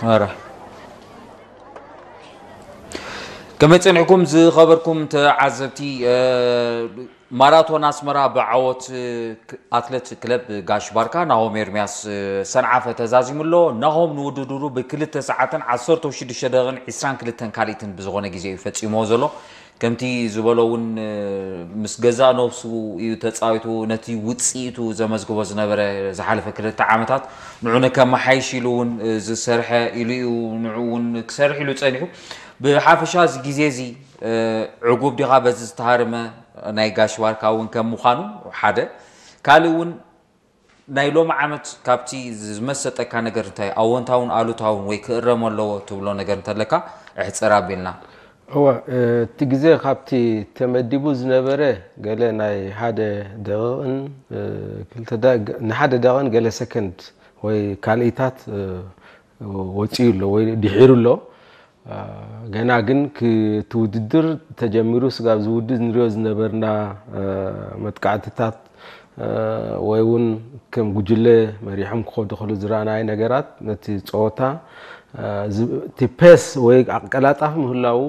ኧረ ከመይ ጸኒሕኩም ዝኸበርኩም ተዓዘብቲ? ማራቶን ኣስመራ ብዓወት ኣትለት ክለብ ጋሽ ባርካ ናሆም ኤርምያስ ሰንዓፈ ተዛዚሙ ኣሎ። ናሆም ንውድድሩ ብክልተ ሰዓትን ዓሰርተ ሽዱሽተ ደቂቕን ዕስራን ክልተን ካልኢትን ብዝኾነ ግዜ እዩ ፈጺምዎ ዘሎ። ከምቲ ዝበሎ እውን ምስ ገዛእ ነብሱ እዩ ተጻዊቱ። ነቲ ውጽኢቱ ዘመዝግቦ ዝነበረ ዝሓለፈ ክልተ ዓመታት ንዑ ንከመሓይሽ ኢሉ እውን ዝሰርሐ ኢሉ እዩ። ንዑ እውን ክሰርሕ ኢሉ ጸኒሑ። ብሓፈሻ እዚ ግዜ እዚ ዕጉብ ዲኻ በዚ ዝተሃርመ ናይ ጋሽ ባርካ እውን ከም ምዃኑ ሓደ፣ ካልእ እውን ናይ ሎሚ ዓመት ካብቲ ዝመሰጠካ ነገር እንታይ ኣወንታውን ኣሉታውን ወይ ክእረም ኣለዎ ትብሎ ነገር እንተለካ እሕፀር ኣቢልና። እወ፣ እቲ ግዜ ካብቲ ተመዲቡ ዝነበረ ገለ ናይ ሓደ ደቂቕን፣ እ፣ ክልተ ደ-፣ ንሓደ ደቂቕን ገለ ሰከንድ ወይ ካልኢታት፣ እ፣ ወፂኡ ኣሎ ወይ ድሒሩ ኣሎ። አ፣ ገና ግን ክ-፣ እቲ ውድድር ተጀሚሩ ስጋብ ዝውድእ ንሪኦ ዝነበርና፣ አ፣ መጥቃዕትታት፣ አ፣ ወይ እውን ከም ጉጅለ መሪሖም ክኸዱ ከሉ ዝረኣናዮ ነገራት ነቲ ፀወታ፣ አ፣ ዝ-፣ እቲ ፔስ ወይ ኣቀላጣፊ ምህላዉ፣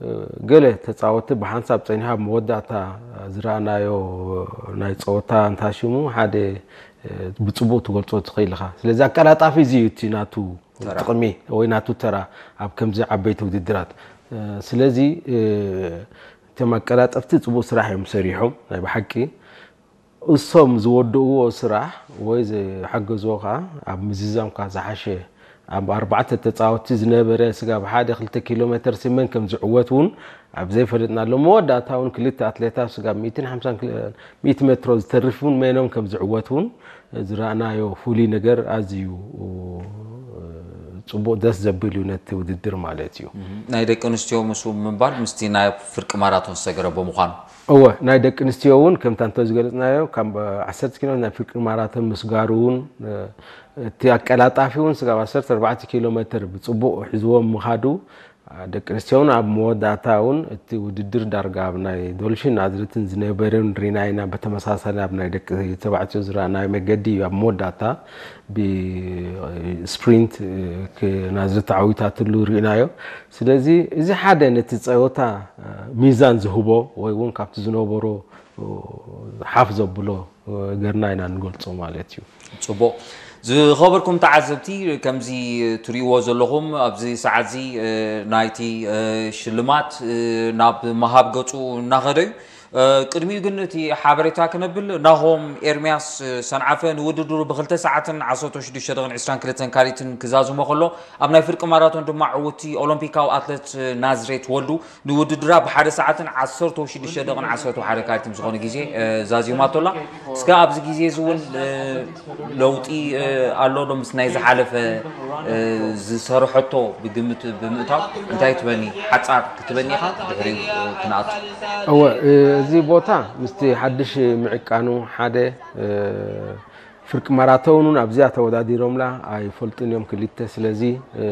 እ፣ ገለ ተፃወቲ ብሓንሳብ ፀኒሖም ኣብ መወዳእታ ዝረኣናዮ ናይ ፀወታ እንታሽሙ ሓደ፣ እ፣ ብፅቡቅ ትገልፆ ትኽእል ኢኻ። ስለዚ ኣቀላጣፊ እዚ እዩ እቲ ናቱ ተራ። ጥቕሚ ወይ ናቱ ተራ ኣብ ከምዚ ዓበይቲ ውድድራት። እ፣ ስለዚ፣ እ፣ እቶም ኣቀላጠፍቲ ጽቡቕ ስራሕ እዮም ሰሪሖም ናይ ብሓቂ። እሶም ዝወድእዎ ስራሕ ወይ ዝሓገዝዎ ከኣ ኣብ ምዝዛምካ ዝሓሸ ኣብ ኣርባዕተ ተጻወትቲ ዝነበረ ስጋብ ሓደ ክልተ ኪሎ ሜተር ሲመን ከም ዝዕወት እውን ኣብ ዘይፈለጥናሉ መወዳእታ እውን ክልተ ኣትሌታት ስጋብ ሚእትን ሓምሳን ኪሎ-፣ ሚእቲ ሜትሮ ዝተርፍ እውን መኖም ከም ዝዕወት እውን ዝረኣናዮ ፍሉይ ነገር ኣዝዩ ጽቡቕ ደስ ዘብል እዩ ነቲ ውድድር ማለት እዩ። ናይ ደቂ ኣንስትዮ ምስኡ ምንባር ምስቲ ናይ ፍርቂ ማራቶን ዝተገረቦ ምዃኑ። እወ፣ ናይ ደቂ ኣንስትዮ እውን ከምታ እንተ ዝገለጽናዮ ካብ ዓሰርተ ኪሎ ናይ ፍርቂ ማራቶን ምስጋሩ እውን፣ እቲ ኣቀላጣፊ እውን ስጋብ ዓሰርተ ኣርባዕተ ኪሎ ሜትር ብጽቡቕ ሒዝዎም ምኻዱ ደቂ ኣንስትዮ እውን ኣብ መወዳእታ እውን እቲ ውድድር ዳርጋ ኣብ ናይ ዶልፊን ናዝሬትን ዝነበረን ሪና ኢና። በተመሳሳሊ ኣብ ናይ ደቂ ተባዕትዮ ዝረኣናዮ መገዲ እዩ ኣብ መወዳእታ ብስፕሪንት ክ-፣ ናዝሬት ተዓዊታትሉ ርኢናዮ። ስለዚ እዚ ሓደ ነቲ ጸወታ ሚዛን ዝህቦ ወይ እውን ካብቲ ዝነበሮ ሓፍ ዘብሎ ገርና ኢና ንገልጾ ማለት እዩ። ጽቡቕ። ዝኸበርኩም ተዓዘብቲ፣ ከምዚ ትርእይዎ ዘለኹም ኣብዚ ሰዓት እዚ፣ እ፣ ናይቲ፣ እ፣ ሽልማት፣ እ፣ ናብ ምሃብ ገጹ እናኸደ እዩ። እ፣ ቅድሚኡ ግን እቲ ሓበሬታ ክነብል፣ ናሆም ኤርምያስ፣ እ፣ ሰንዓፈ ንውድድሩ ብክልተ ሰዓትን ዓሰርተ ሽዱሽተ ደቂቕን ዕስራን ክልተን ካልኢትን ክዛዝሞ ከሎ፣ ኣብ ናይ ፍርቂ ማራቶን ድማ ዕውትቲ ኦሎምፒካዊ ኣትለት፣ እ፣ ናዝሬት ወልዱ ንውድድራ ብሓደ ሰዓትን ዓሰርተ ሽዱሽተ ደቂቕን ዓሰርተ ሓደ ካልኢትን ዝኾነ ግዜ፣ እ፣ ዛዚማቶ ኣላ። እስከ ኣብዚ ግዜ እዚ እውን፣ እ፣ ለውጢ፣ እ፣ ኣሎ ዶ? ምስ ናይ ዝሓለፈ፣ እ፣ ዝሰርሐቶ ብግምት ብምእታው እንታይ ትበኒ? ሓጻር ክትበኒ ኢኻ፣ ድሕሪኡ፣ እ፣ ክንኣቱ። እወ፣ እ፣ እዚ ቦታ ምስቲ ሓድሽ ምዕቃኑ ሓደ፣ እ፣ ፍርቂ ማራቶን እውን ኣብዚኣ ተወዳዲሮምላ ኣይፈልጡን እዮም ክልተ። ስለዚ፣ እ፣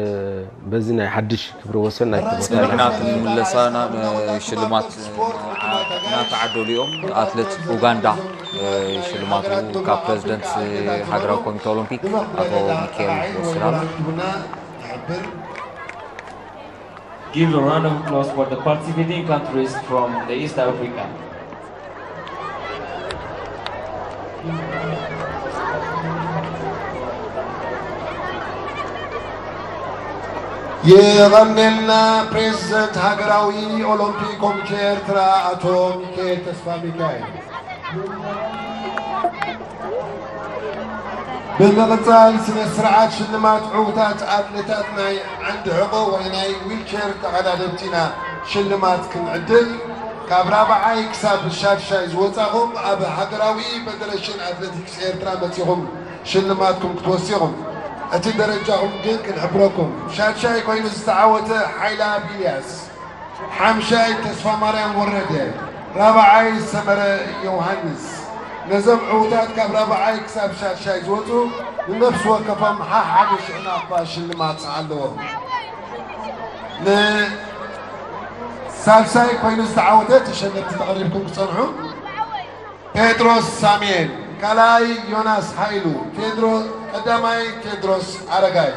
በዚ ናይ ሓድሽ ክብረ ወሰን ናይ እቲ ቦታ ኢና። ምኽንያቱ ንምለሳ ናብ ሽልማት እናተዓደሉ እዮም። ኣትሌት ኡጋንዳ፣ እ፣ ሽልማቱ ካብ ፕሬዚደንት ሃገራዊ ኮሚቴ ኦሎምፒክ ኣቶ ሚካኤል ወስድ ኣሎ። Give a round of applause for the participating countries from the East Africa. የቐኔልና ፕሬዚደንት ሃገራዊ ኦሎምፒክ ኮሚቴ ኤርትራ ኣቶ ሚካኤል ተስፋ ሚካኤል። ብምቕጻል ስነ ስርዓት ሽልማት ዕውታት ኣትሌታት ናይ ዓንዲ ሕቖ ወይ ናይ ዊልቸር ተቐዳደምቲ ኢና ሽልማት ክንዕድል። ካብ ራብዓይ ክሳብ ሻድሻይ ዝወጻኹም ኣብ ሃገራዊ ፌደሬሽን ኣትሌቲክስ ኤርትራ መጺኹም ሽልማትኩም ክትወስኹም። እቲ ደረጃኹም ግን ክንሕብረኩም። ሻድሻይ ኮይኑ ዝተዓወተ ሓይላ ቢልያስ፣ ሓምሻይ ተስፋ ማርያም ወረደ፣ ራብዓይ ሰመረ ዮሃንስ። ነዞም ዕውታት ካብ ራብዓይ ክሳብ ሻድሻይ ዝወጹ ንነፍሲ ወከፎም ሓሓደ ሽሕ ናቕፋ ሽልማት ኣለዎም። ንሳልሳይ ኮይኑ ዝተዓወተ ተሸለምቲ ተቐሪብኩም ክጸንሑ። ጴጥሮስ ሳሙኤል፣ ካልኣይ ዮናስ ሃይሉ፣ ቴድሮ-፣ ቀዳማይ ቴድሮስ ኣረጋይ።